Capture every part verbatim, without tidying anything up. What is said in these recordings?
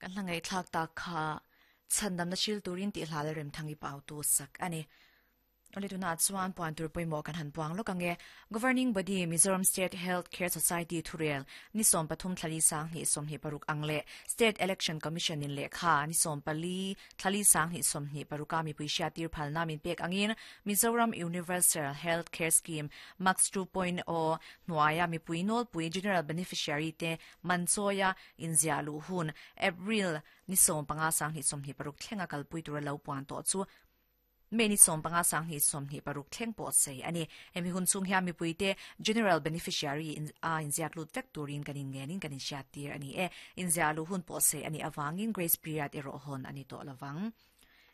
Kan hla ngaihthlak tak kha chhandamna hril turin tih hla leh remthangi pau tu sak ani. Ole tuna chuan puan tur pawimawh kan han puang lawk ange. Governing Body Mizoram State Health Care Society thurel ni sawm pathum thlali sang hnih sawmhnih paruk ang leh State Election Commission in lehkha ni sawm pali thlali sang hnih sawmhnih paruka mipui hriattir phalna min pek angin Mizoram Universal Health Care Scheme MUHCS two point zero hnuaia mipui nawlpui General Beneficiary te manchawia inziah luh hun April ni sawm panga sang hnih sawmhnih paruk thlenga kalpui tura lo puan tawh chu May ni sawm panga sang hnih sawmhnih paruk thleng pawh sei ani. Hemi hun chung hian mipui te General Beneficiary in a inziak lut vek turin kan in ngenin kan in hriat tir ani e. Inziah luh hun pawh sei ani awangin grace period erawh hawn ani tawh lovang.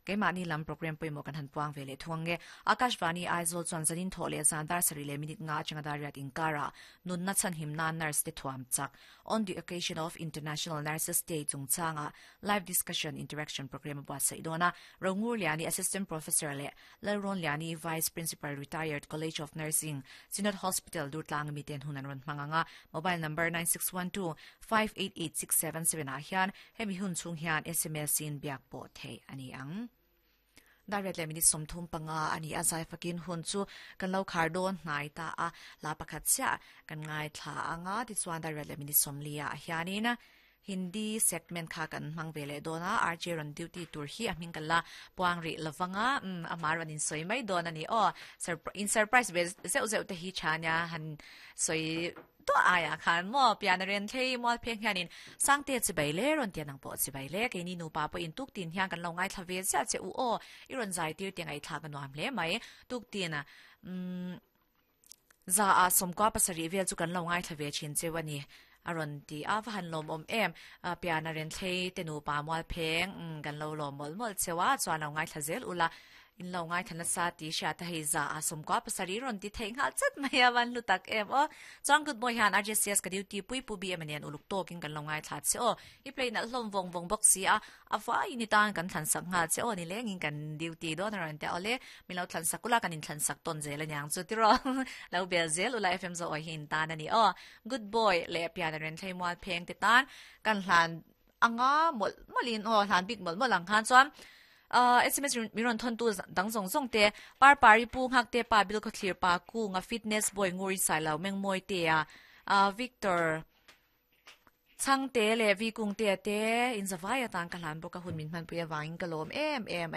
Keimahni lam program pawimawh kan han puang ve leh thung ange. Akashvani Aizawl chuan zanin thawh leh zan dar sarih leh minute nga atanga dar riat inkara nunna chhan himna nurse te thuam chak on the occasion of International Nurses Day chungchanga live discussion interaction program buatsaih dawna. Rongur Liani, Assistant Professor, leh Lalron Liani, Vice Principal Retired, College of Nursing, Synod Hospital, Durtlang mi ten hunan ron hmanganga. Mobile number nine six one two five eight eight six seven seven ah hian hemi hun chung hian S M S in biak pawh thei ani ang. Dar riat leh minute sawmthum panga ani a, zai fakin hun chu kan lo khar dawn hnai ta a, la pakhat chiah kan ngai thla anga. Tichuan dar riat leh minute sawmli ah hianin Hindi segment kha kan hmang ve leh dawn a. R J ron duty tur hi a hming kan la puang ri lovanga, um amar ron in soi mai dawn ani aw. In surprise ve zeuh zeuh te hi chania han soi to aya khan mo pian ren thlei mol pheng hianin sangte chi bai le ron tian ang po chi bai le ke ni nu pa po in tuk tin hian kan lo ngai thla ve cha che u o i ron zai tir te ngai thla ka nuam hle mai. Tuk tin a um za a somkwa pasari vel chu kan lo ngai thla ve chin che wani aron ti a va han lom om em pian a ren thlei te nu pa mual pheng kan lo lom mol mol chewa. Chuan lo ngai thla zel ula, in lo ngai thana sa ti sha ta hei za a som kwa pasari ron ti thei ngal chat mai a van lu tak em o. Chuan good boy han R J C S ka duty pui pu bi emanian uluk tokin kan lo ngai thla che o, i play na hlom vong vong box si a afa ini tan kan thlan sak nga che o, ni lengin kan duty do na ran te ole mi lo thlan sakula kan in thlan sak ton zel anyang chu tiro lo bel zel ula. F M zo oi hin tan ani o. Good boy le pian ren thlei mual pheng te tan kan hlan anga mol molin o hlan bik mol mol ang khan. Chuan uh, S M S miron thon tu dang zong zong te par pari pu ngak te pa bil ko clear pa ku nga fitness boy nguri sai lo meng moi te a uh, Victor chang te le vi kung te te in zawaya tan ka hlan boka hun min man puya wangin ka lom em em.